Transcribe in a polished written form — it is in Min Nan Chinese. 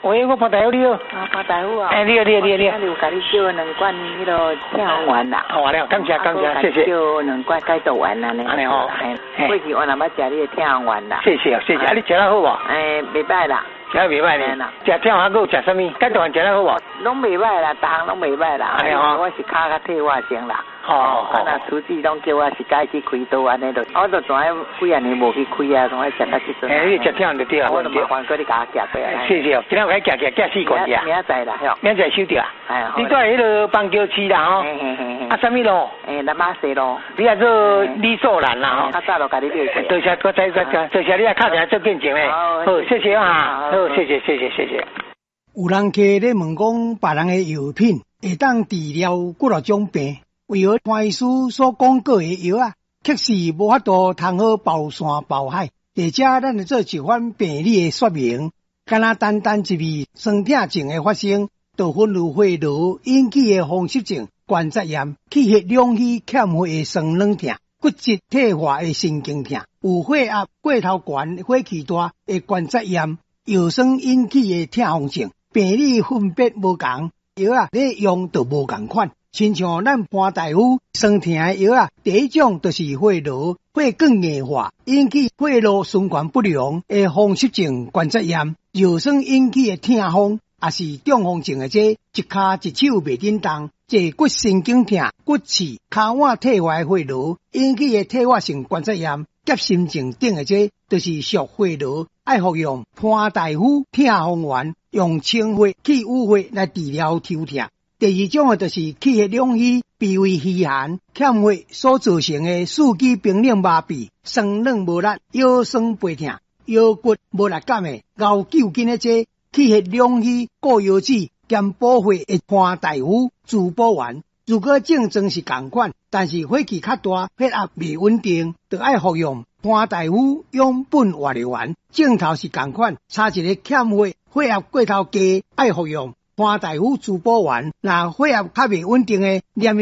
喂，我潘大夫你好。啊，潘大夫啊。哎，你好，你好，你好，你好。有共你叫兩罐彼个痛風丸啦。好了，感謝感謝，謝謝。叫兩罐解毒丸啦，按呢吼。過去我若捌食你的痛風丸啦。謝謝，謝謝。啊，你食得好無？欸，袂䆀啦。食得袂䆀呢？食痛風閣有食啥物？解毒丸食得好無？攏袂䆀啦，逐項攏袂䆀啦。按呢吼。我是跤較退化症啦。哦啊，若主治攏叫我是該去開刀按呢，就我就怎影幾仔年無去開啊，總愛食到這陣。欸，你食痛就對啊。我就麻煩閣你共我寄過來。謝謝，今仔有共寄寄寄四罐爾。明仔載啦，明仔載收著啊？你住佇彼个板橋市啦吼。啊，啥物路？欸，南馬西路。你也做李素蘭啦吼。較早就共你買過。多謝，我知知知，多謝你啊，敲電話做見證咧。好，謝謝啊，好，謝謝謝謝謝謝。有人客咧問講，別人的藥品會當治療幾若種病？為何潘醫師所廣告的藥仔，卻是無法度通好包山包海？佇遮咱來做一番病理的說明。敢若單單一味酸痛症的發生，就分有血瘻引起的風濕性關節炎、氣血兩虛欠血的酸軟痛、骨質退化的神經痛、有血壓過頭懸、火氣大的關節炎、藥酸引起的痛風症。病理分別無仝，藥仔咧用就無仝款。親像咱潘大夫酸痛的藥仔，第一種就是血瘻、血管硬化引起血路循環不良的風濕性關節炎，藥酸引起的痛風，也是中風症的這一跤一手袂振動，坐骨神經痛、骨刺、跤腕退化的血瘻引起的退化性關節炎、夾心症等的這，就是屬血瘻，愛服用潘大夫痛風丸，用清血去淤血來治療抽痛。第二種的就是氣血兩虛、脾胃虛寒、欠血所造成的四肢冰冷麻痹、酸軟無力、腰酸背痛、腰骨無力感的熬糾筋的這氣血兩虛、固腰子兼補血的潘大夫滋補丸。如果症狀是仝款，但是火氣較大、血壓袂穩定，就愛服用潘大夫養本活力丸。症頭是仝款，差一个欠血、血壓過頭低，愛服用潘大夫滋補丸。若血壓較袂穩定的，連